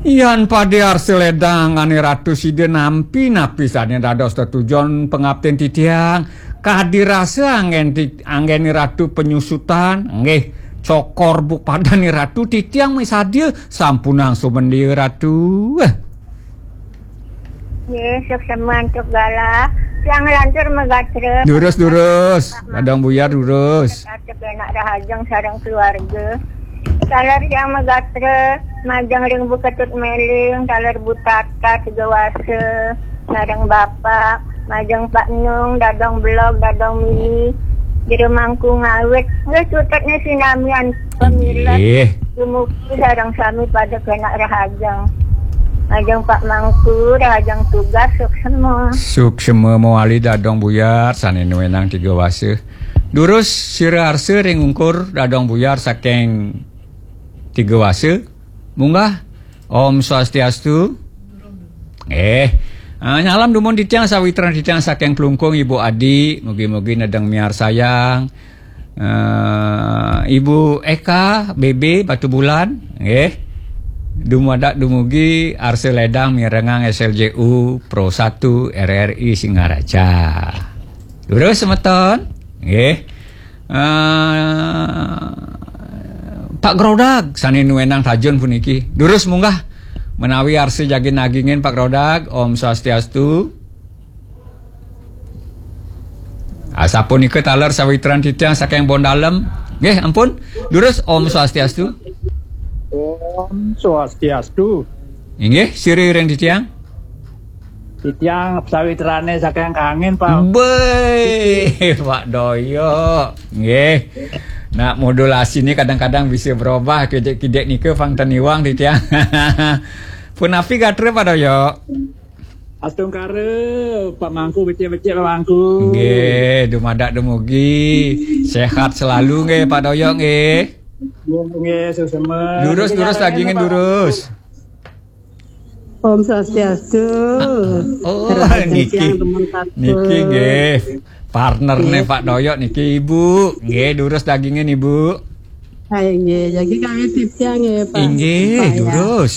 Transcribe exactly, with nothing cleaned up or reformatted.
Yan pade arsa ledang ane Ratu sida nampi napi sane dados tetujon pangaptin titiang. Kadi rasa anggen ti-, anggene Ratu penyusutan, nggih, cokor buk padane Ratu titiang misadia sampunang sumendia Ratu. Eh. Nggih, suksma antuk galah. Tiang lantur magatra. Durus, durus. Dadong Buyar, durus. Atuk enak rahajeng sareng keluarga. Taler tiang magatra, majeng ring Bu Ketut Meling, taler Bu Tata Tiga Wasa, sareng Bapak, majeng Pak Nung, Dadong Blog, Dadong Mini, Jero Mangku Ngawit. Nggih, cutetnya sinamian pamilet. Nggih. Dumugi sareng sami pada kenak rahajeng. Majeng Pak Mangku, rahajeng tugas, suksma. Suksma mawali Dadong Buyar, sane nuenang Tiga Wasa. Durus sira arsa ring ungkur Dadong Buyar saking Tiga Wasa. Munggah. Om Swastiastu. Eh, eh, nyalam dumun titiang sawitran titiang saking Plungkung, Ibu Adi, mugi-mugi nedeng miarsayang. Eh, Ibu Eka, B B, Batu Bulan, nggih. Dumadak dumugi arsa ledang mirengang S L J U Pro satu R R I Singaraja. Durus semeton, nggih. Eh, Pak Grodag, sane nuenang tajun puniki. Durus munggah menawi arsa jagi nagingin Pak Grodag. Om Swastiastu. Asapunika taler sawitran titiang saking Bondalem. Nggih, ampun. Durus, Om Swastiastu. Om Swastiastu. Inggih, sira ring titiang. Titiang sawitrane saking Kangin, Pak. Be, Pak Doyok. Nggih. Nak modulasi ini kadang-kadang bisa berubah, kidik-kidik nika pang ten iwang titiang. Punapi gatra, Pak Doyok? Astungkara, Pak Mangku, becik-becik, Pak Mangku. Nggih, dumadak dumugi sehat selalu nggih, Pak Doyok nggih. Nggih, nggih, suksma. Durus, durus, dagingin Pak. Durus. Om Swastiastu. Oh, Rahajeng niki. Tiang temen satu. Niki nggih. Partnerne Pak Doyok niki, Ibu. Nggih, durus dagingin, Ibu. Hai, nggih. Jagi kami titiang nggih, Pak. Inggih, Pak, ya. Durus.